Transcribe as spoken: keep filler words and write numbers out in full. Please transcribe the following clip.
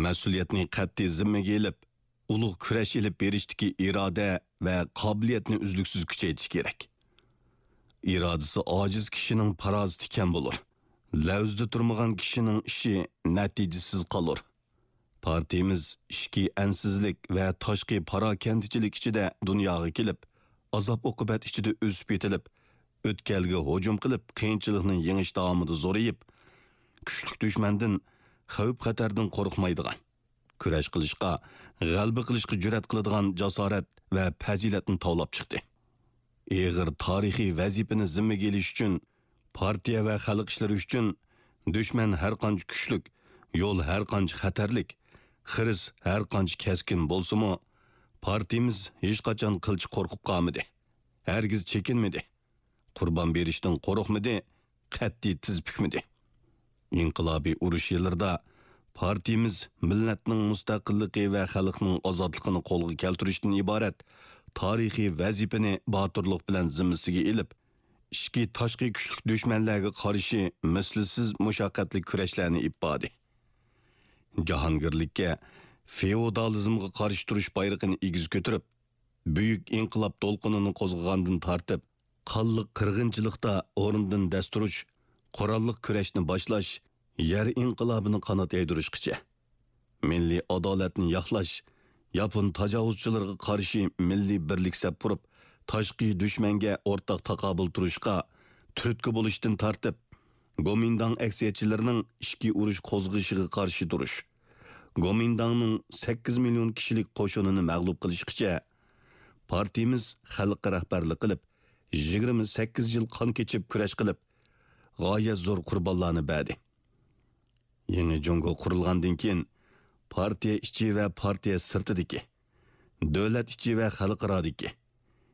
مەسئۇلىيەتنى قەتئىي زىممىگە ئېلىپ، ئۇلۇغ كۈرەش ئېلىپ بېرىشتىكى ئىرادە ۋە قابىلىيەتنى ئۈزلۈكسىز كۈچەيتىش كېرەك. ئىرادىسى ئاجىز كىشىنىڭ پاراسىتى كەم بولۇر. لەۋزىدە تۇرمىغان كىشىنىڭ ئىشى نەتىجىسىز قالۇر. پارتىيىمىز ئىچكى ئەنسىزلىك ۋە تاشقى پاراكەندىچىلىك ئىچىدە دۇنياغا كېلىپ، ئازاب-ئوقۇبەت ئىچىدە ئۆسۈپ يېتىلىپ، ئۆتكەلگە ھۇجۇم قىلىپ، قىيىنچىلىقنى يېڭىش داۋامىدا زورىيىپ، كۈچلۈك دۈشمەندىن، خەۋپ-خەتەردىن قورقمايدىغان، كۈرەش قىلىشقا، غەلىبە قىلىشقا جۈرئەت قىلىدىغان جاسارەت ۋە پەزىلەتنى تاۋلاپ چىقتى. ئېغىر تارىخىي ۋەزىپىنى زىممىگە ئېلىش ئۈچۈن پارتىيە ۋە خەلق ئىشلىرى ئۈچۈن دۈشمەن ھەرقانچە كۈچلۈك، يول ھەرقانچە خەتەرلىك، خىرىس ھەرقانچە كەسكىن بولسىمۇ، پارتىيىمىز ھېچقاچان قىلچە قورقۇپ قالمىدى. ھەرگىز چېكىنمىدى. قۇربان بېرىشتىن قورقمىدى، قەتئىي تىز پۈكمىدى. ئىنقىلابىي ئۇرۇش يىللىرىدا پارتىيىمىز مىللەتنىڭ مۇستەقىللىقى ۋە خەلقنىڭ ئازادلىقىنى قولغا كەلتۈرۈشتىن ئىبارەت تارىخىي ۋەزىپىنى باتۇرلۇق بىلەن زىممىسىگە ئېلىپ، ئىچكى، تاشقى كۈچلۈك دۈشمەنلەرگە قارشى مىسلىسىز مۇشەققەتلىك كۈرەشلەرنى ئېلىپ باردى. جاھانگىرلىككە، فېئودالىزمغا قارشى تۇرۇش بايرىقىنى ئېگىز كۆتۈرۈپ، بۈيۈك ئىنقىلاب دولقۇنىنى قوزغىغاندىن تارتىپ، قانلىق قىرغىنچىلىقتا ئورنىدىن دەس تۇرۇش، قوراللىق كۈرەشنى باشلاش، يەر ئىنقىلابىنى قانات يايدۇرۇشقىچە، مىللىي ئادالەتنى ياقلاش، ياپون تاجاۋۇزچىلىرىغا قارشى مىللىي بىرلىك سەپ قۇرۇپ، تاشقى دۈشمەنگە ئورتاق تاقابىل تۇرۇشقا تۈرتكە بولۇشتىن تارتىپ، گومىنداڭ ئەكسىيەتچىلىرىنىڭ ئىچكى ئۇرۇش قوزغىشىغا قارشى تۇرۇش، گومىنداڭنىڭ سەككىز مىليون كىشىلىك قوشۇنىنى مەغلۇپ قىلىشقىچە، پارتىيىمىز خەلققە رەھبەرلىك قىلىپ، يىگىرمە سەككىز يىل قان كېچىپ كۈرەش قىلىپ، غايەت زور قۇربانلارنى بەردى. يېڭى جۇڭگو قۇرۇلغاندىن كېيىن، پارتىيە ئىچى ۋە پارتىيە سىرتىدىكى، دۆلەت ئىچى ۋە خەلقئارادىكى،